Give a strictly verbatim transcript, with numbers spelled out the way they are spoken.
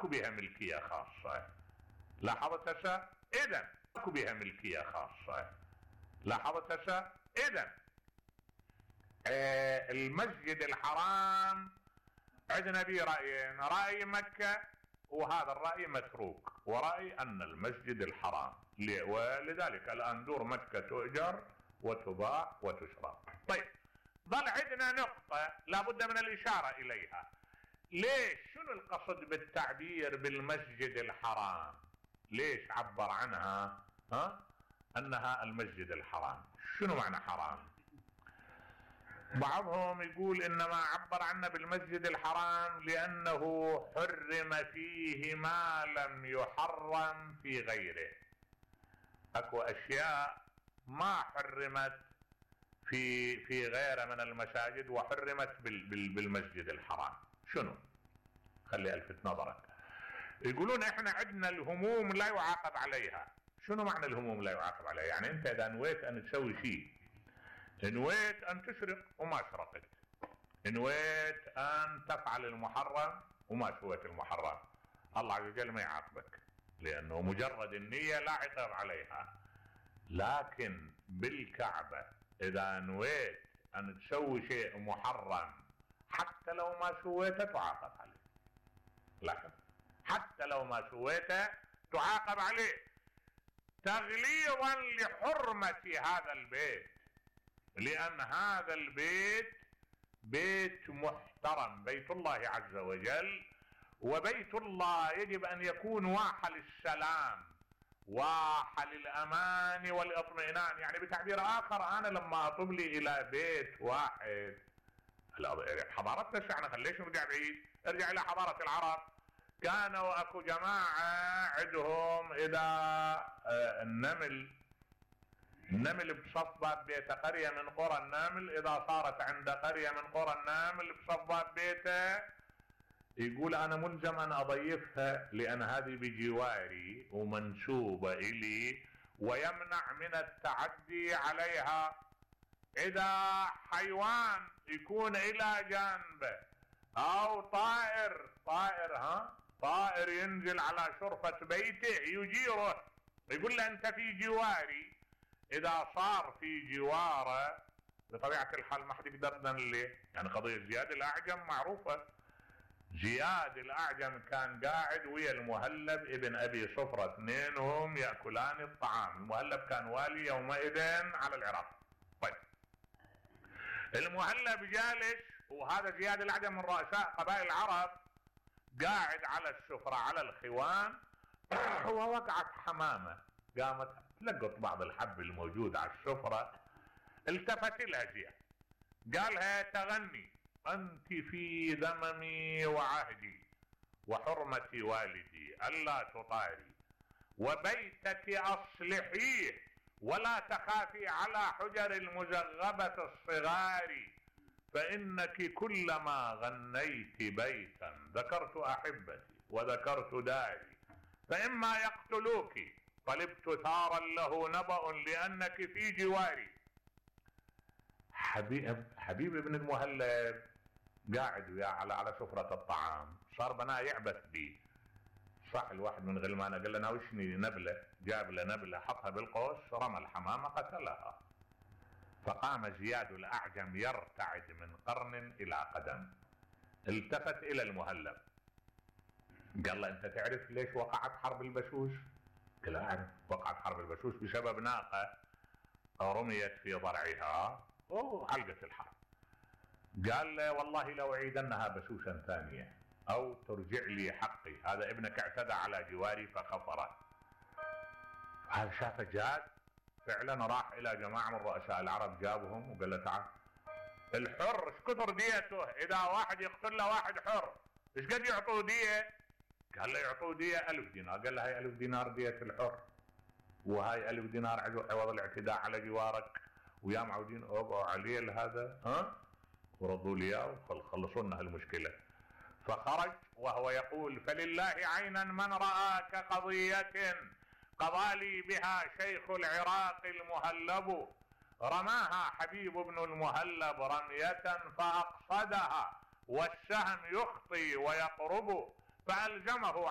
بها ملكية خاصة. لاحظت هسه؟ اذا اكو بها ملكية خاصة. لاحظت هسه؟ اذا آه المسجد الحرام عندنا به رأيين، رأي مكة وهذا الرأي متروك، ورأي ان المسجد الحرام، ولذلك الان دور مكة تؤجر وتباع وتشرى. طيب ظل عندنا نقطة لابد من الاشارة اليها. ليش؟ شنو القصد بالتعبير بالمسجد الحرام؟ ليش عبر عنها ها انها المسجد الحرام؟ شنو معنى حرام؟ بعضهم يقول انما عبر عنه بالمسجد الحرام لانه حرم فيه ما لم يحرم في غيره. اكو اشياء ما حرمت في في غيره من المساجد وحرمت بالمسجد الحرام. شنو؟ خلي الفت نظرك. يقولون احنا عندنا الهموم لا يعاقب عليها. شنو معنى الهموم لا يعاقب عليها؟ يعني انت اذا نويت ان تسوي شيء، نويت ان تسرق وما سرقت، نويت ان تفعل المحرم وما سويت المحرم، الله عز وجل ما يعاقبك لانه مجرد النية لا عقاب عليها. لكن بالكعبة اذا نويت ان تسوي شيء محرم حتى لو ما سويته تعاقب عليه. لكن حتى لو ما سويته تعاقب عليه تغليظا لحرمة هذا البيت، لان هذا البيت بيت محترم، بيت الله عز وجل، وبيت الله يجب ان يكون واحة للسلام، واحة للامان والاطمئنان. يعني بتعبير اخر انا لما اطب لي الى بيت واحد، حضارتنا شعنا، ليش نرجع بعيد؟ ارجع الى حضارة العرب. كانوا اكو جماعة عندهم اذا النمل النمل بصفات بيته، قرية من قرى النمل اذا صارت عند قرية من قرى النمل بصفات بيته، يقول انا ملزم ان اضيفها لان هذه بجواري ومنسوبة الي ويمنع من التعدي عليها. اذا حيوان يكون الى جانبه او طائر طائر ها طائر ينزل على شرفة بيته يجيره، يقول له انت في جواري. اذا صار في جواره بطبيعة الحال ما حد يقدر نليه. يعني قضية زياد الاعجم معروفة. زياد الاعجم كان قاعد ويا المهلب ابن ابي صفرة، اثنينهم يأكلان الطعام. المهلب كان والي يومئذ على العراق. طيب المهلب جالس وهذا زياد الاعجم من رؤساء قبائل العرب قاعد على السفرة على الخوان ووقعت حمامة، قامت تلقط بعض الحب الموجود على السفرة، التفت لها زياد قالها تغني انت في ذممي وعهدي وحرمة والدي الا تطاري، وبيتك اصلحيه ولا تخافي على حجر المزغبة الصغار، فانك كلما غنيت بيتا ذكرت احبتي وذكرت داري، فاما يقتلوك طلبت ثارا له نبأ لانك في جواري. حبيب حبيب ابن المهلب قاعد وياه على على سفرة الطعام، صار بناه يعبث بيه. صح الواحد من غلمانه قال له ناوشني نبله، جاب له نبله حطها بالقوس، رمى الحمامه قتلها. فقام زياد الاعجم يرتعد من قرن الى قدم، التفت الى المهلب قال له انت تعرف ليش وقعت حرب البشوش؟ قال له اعرف، وقعت حرب البشوش بسبب ناقه رميت في ضرعها وعلقت الحرب. قال له والله لو اعيدنها بشوشا ثانيه او ترجع لي حقي، هذا ابنك اعتدى على جواري فخفره. هذا شافه جاد فعلا، راح الى جماعة من رؤساء العرب جابهم وقال له تعال الحر ايش كثر ديته؟ اذا واحد يقتل له واحد حر ايش قد يعطوه دية؟ قال له يعطوه دية ألف دينار. قال له هاي ألف دينار دية الحر، وهاي ألف دينار عوض الاعتداء على جوارك، ويا معودين اوقعوا عليه هذا ها ورضوا لي اياه وخلصونا هالمشكلة. فخرج وهو يقول فلله عينا من رأى كقضية قضى لي بها شيخ العراق المهلب، رماها حبيب بن المهلب رمية فأقصدها والسهم يخطي ويقرب، فألزمه